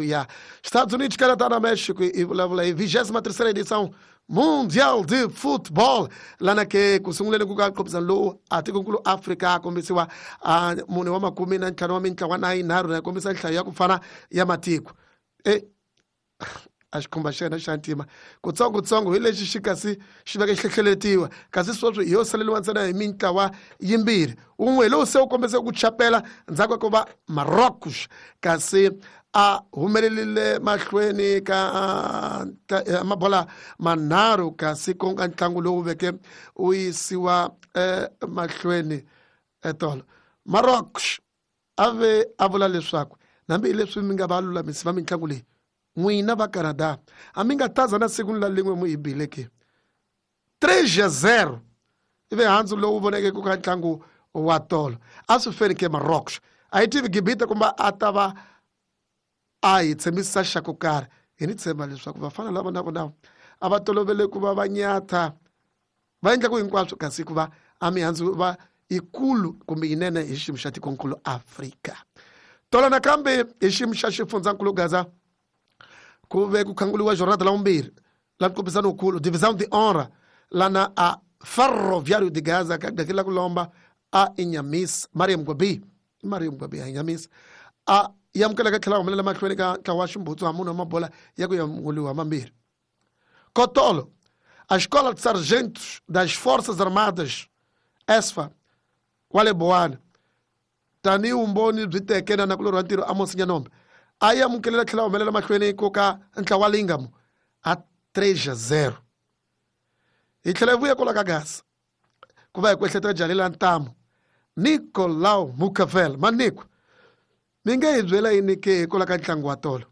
Ya Estados Unidos, Canadá na México i vulavula hi 23ª edição Mundial de Football lana ke ku sunguleni ku ka nqophisano lowu a tikonkulu Afrika a kombisiwa a mune wa makume na ntlhanu wa mintlawa na yinharhu na kombisa nhlayo ya ku fana ya matiko e a xikhumba xa yena xa ntima kutsongotsongo hi lexi xi kasi xi veke xi hlehleletiwa kasi sweswi hi yo saleriwa ntsena hi mintlawa yimbirhi wun'we hi lowu se wu kombise ku chapela ndzhaku ka ku va Marocos kasi a humelerile mahlweni ka mabola manharhu kasi ku nga ntlangu lowu veke wu yisiwa mahlweni etolo Marocos a ve a vula leswaku hambi leswi mi nga va lulamisi va mitlangu leyi n'wina va Canada a mi nga taza na siku ni la lin'we mu hi bile ke 3-0 ivi handzu lowu voneke ku ka ntlangu wa tolo a swi feni ke Marocos a yi tivi Gibita kumbe a ta va a hi tshembisa xa ku karhi hi ni tshemba leswaku vafana lava na vona a va tolovele ku va va nyatha va endla ku hinkwaswo kasi ku va a mihandzu va yikulu kumbe yinene hi xiyimo xa tikonkulu Afrika tolo nakambe hi xiyimo xa xifundzankulu Gaza ku ve ku khanguliwa jornada la vumbirhi la nkombisano wukulu Divisão de Honra lana a Ferroviário de Gaza ka gakeli la ku lomba a Inyamis Mariam Gwabi Mariam Gwabi a Inyamis a yamukeleka tlhela humelela mahlweni ka ntlawa wa ximbutsu ha munhu wa mabola ya ku yamuliwa mambirhi Kotolo a Escola de Sargentos das Forças Armadas ESFA kwale Bowana tanihi vumbhoni byi teke na nakulorhi wa ntirho Amos Nyanombe a yi amukelela tlhela humelela mahlweni ko ka ntlawa Lingamo a 3-0 hi tlhela hi vuya kwala ka Gaza ku va hi ku ehleketa jalela ntamu Nicolau Mukavel Maniko mi nge hi byela yini ke kwala ka ntlangu wa tolo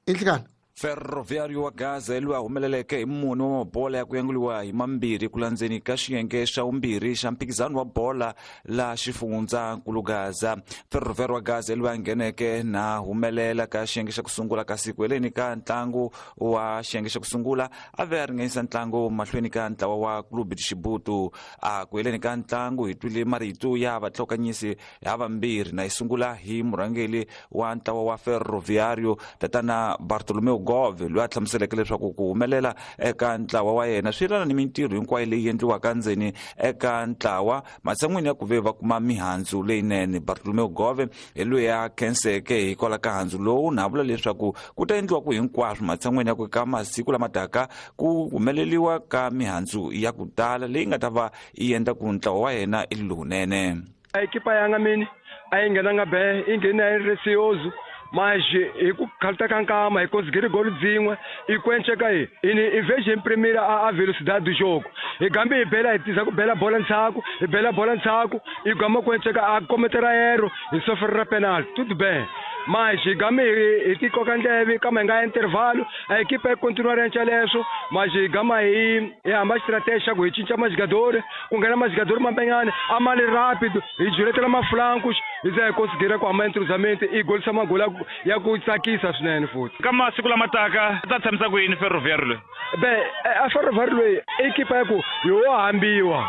i nhlikani Ferroviário wa Gaza hi loyi a humeleleke hi mune wa mabola ya ku yanguliwa hi mambirhi ku landzeni ka xiyenge xa vumbirhi xa mphikizano wa bola la xifundzankulu Gaza. Ferroviário wa Gaza hi loyi a ngheneke na humelela ka xiyenge xa ku sungula kasi ku heleni ka ntlangu wa xiyenge xa ku sungula a ve a ringanyisa ntlangu mahlweni ka ntlawa wa Clube de Chibuto. A ku heleni ka ntlangu hi twile marito ya vatlhokanyisi havambirhi na yi sungula hi murhangeri wa ntlawa wa Ferroviário tatana Bartolomeu Gove loyi a hlamuseleke leswaku ku humelela eka ntlawa wa yena swi yelana ni mintirho hinkwayo leyi endliwaka ndzeni eka ntlawa matshan'wini ya ku ve va kuma mihandzu leyinene. Bartolomeu Gove hi loyi a khenseke hikwalaho ka handzu lowu na vula leswaku ku ta endliwa ku hinkwaswo matshan'wini ya ku ka masiku lama taka ku humeleliwa ka mihandzu ya ku tala leyi nga ta va yi endla ku ntlawa wa yena i lowunene. A ekipa yanga mini a yi nghenanga be yi nghene a yi resiyozu mas hi ku khalta ka nkama hi conseguir gol dzin'we i kwenceka hi ini i vez de imprimir a velocidade do jogo hi gambe hi bela hi tiza ku bela bola ndzhaku hi bela bola ndzhaku i gama kwenceka a kometera erro hi sofrera penalty tudo bem mas hi game hi ti koka ndleve kama hi nga intervalo a ekipa yi continua renca leswo mas hi gama hi hi hamba strategy xa ku hi cinca majogador ku nghena majogador mambenyana a ma li rápido hi juletela maflancos hi za hi considera ku hamba entrozamento i golisa magoli ya ku tsakisa swinene futhi ka masiku lama taka ta tshamisa ku yini Ferroviário loyi be a Ferroviário loyi ekipa ya ku hi wo hambiwa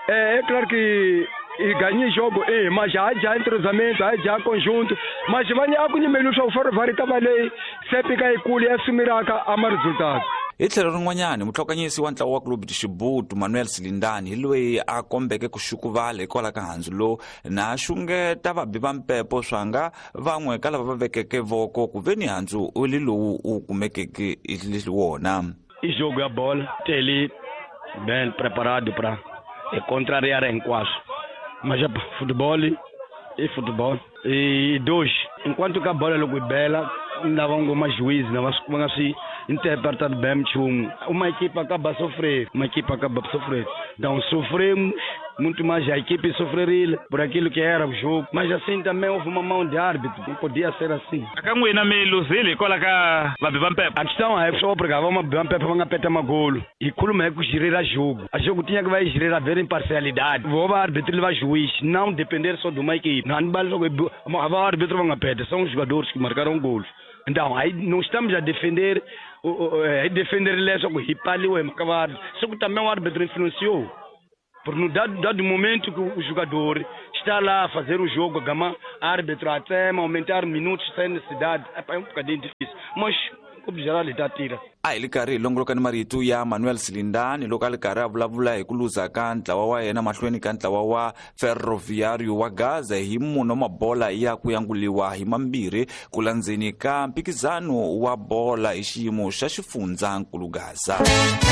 é claro que i ganhei jogo e mas já já entrosamento já já conjunto mas vanye a ku nyimeli leswaku Ferroviário ta va leyi se pika yikulu ya sumiraka a ma resultado. Hi tlhelo rin'wanyana mutlhokanyisi wa ntlawa wa Clube de Chibuto Manuel Silindani hi loyi a kombeke ku xukuvala hikwalaho ka handzu lowu na xungeta vabi va mpepo swanga van'we ka lava va vekeke voko ku ve ni handzu li lowu wu kumekeke wona. I jogo ya bola tele bem preparado para contrariar hinkwaswo mas futebol i futebol e dois enquanto ka bola loko yi bela lava ngoma juiz na va nga swi interpretado bem nchumu uma equipe acaba a sofrer uma equipe acaba a sofrer então sofremos muito mais a equipe sofreria por aquilo que era o jogo mas assim também houve uma mão de árbitro não podia ser assim. Ka n'wina mi luzile hikwalaho ka vabi va mpepo a questão é só porque vamos va mpepo va nga peta magolo hi khuluma hi ku girira jogo a jogo tinha que vai girar ver imparcialidade vou va árbitro va juiz não depender só de uma equipe não vale só va árbitro va nga peta são os jogadores que marcaram gols. Então aí não estamos a defender defender só que hipaliwe makavar só que também o árbitro influenciou porque no dado momento que o jogador Está lá a fazer o jogo, gama árbitro até aumentar minutos sem necessidade. É um bocadinho difícil. Mas o geral ta tira. A hi li karhi hi longoloka ni marito ya Manuel Silindani loko a li karhi a vulavula hi ku luza ka ntlawa wa yena mahlweni ka ntlawa wa Ferroviário wa Gaza hi munhu wa mabola ya ku yanguliwa hi mambirhi ku landzeni ka mphikizano wa bola hi xiyimo xa xifundzankulu Gaza.